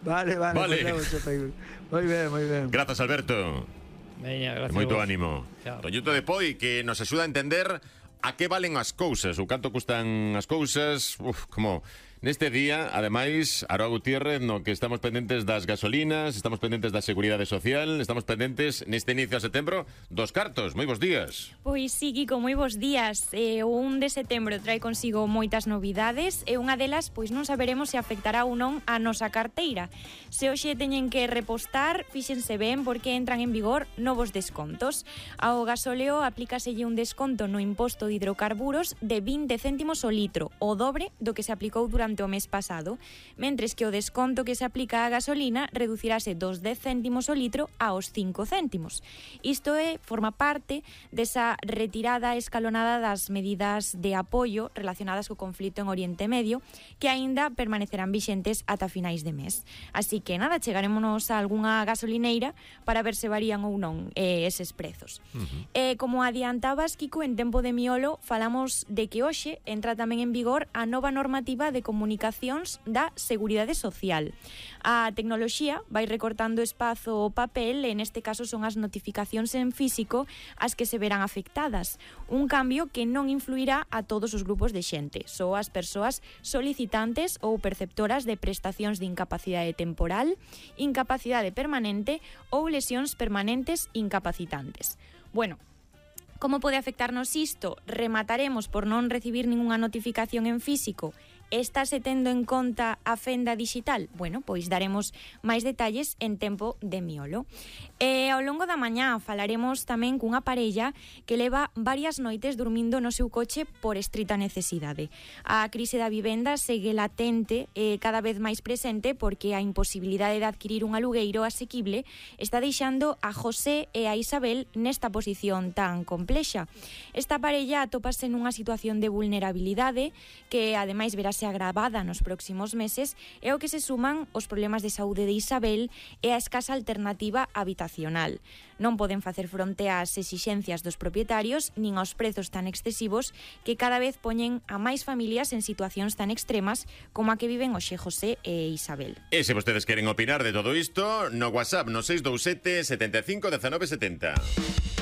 Vale. Moi ben. Grazas, Alberto. Veña, gracias. Moito vos. ánimo. Chao. Toñito de Poi, que nos axuda a entender a que valen as cousas, ou canto custan as cousas. Como neste día, ademais, Aroa Gutiérrez, no que estamos pendentes das gasolinas, estamos pendentes da seguridade social, estamos pendentes neste inicio de setembro dos cartos. Moi bons días. Pois sí, Kiko, moi bons días. O 1 de setembro trae consigo moitas novidades e unha delas, pois non saberemos se afectará ou non a nosa carteira. Se hoxe teñen que repostar, fíxense ben porque entran en vigor novos descontos. Ao gasóleo aplícaselle un desconto no imposto de hidrocarburos de 20 céntimos o litro, o dobre do que se aplicou durante o mes pasado, mentres que o desconto que se aplica á gasolina reducirase dos 10 céntimos o litro aos 5 céntimos. Isto forma parte desa retirada escalonada das medidas de apoio relacionadas co conflito en Oriente Medio, que aínda permanecerán vixentes ata finais de mes. Así que nada, chegarémonos a algunha gasolineira para ver se varían ou non eses prezos. Como adiantabas, Kiko, en tempo de miolo falamos de que hoxe entra tamén en vigor a nova normativa de comunicacións da Seguridade Social. A tecnoloxía vai recortando espazo ao papel e neste caso son as notificacións en físico as que se verán afectadas. Un cambio que non influirá a todos os grupos de xente, só as persoas solicitantes ou perceptoras de prestacións de incapacidade temporal, incapacidade permanente ou lesións permanentes incapacitantes. Bueno, como pode afectarnos isto? Remataremos por non recibir ningunha notificación en físico. Estáse tendo en conta a fenda digital? Bueno, pois daremos máis detalles en tempo de miolo. Ao longo da mañá falaremos tamén cunha parella que leva varias noites dormindo no seu coche por estrita necesidade. A crise da vivenda segue latente e cada vez máis presente porque a imposibilidade de adquirir un alugueiro asequible está deixando a José e a Isabel nesta posición tan complexa. Esta parella atópase nunha situación de vulnerabilidade que ademais verase agravada nos próximos meses e ao que se suman os problemas de saúde de Isabel e a escasa alternativa habitacional. Non poden facer fronte ás exixencias dos propietarios nin aos prezos tan excesivos que cada vez poñen a máis familias en situacións tan extremas como a que viven hoxe José e Isabel. E se vostedes queren opinar de todo isto, no WhatsApp no 627 75 19 70.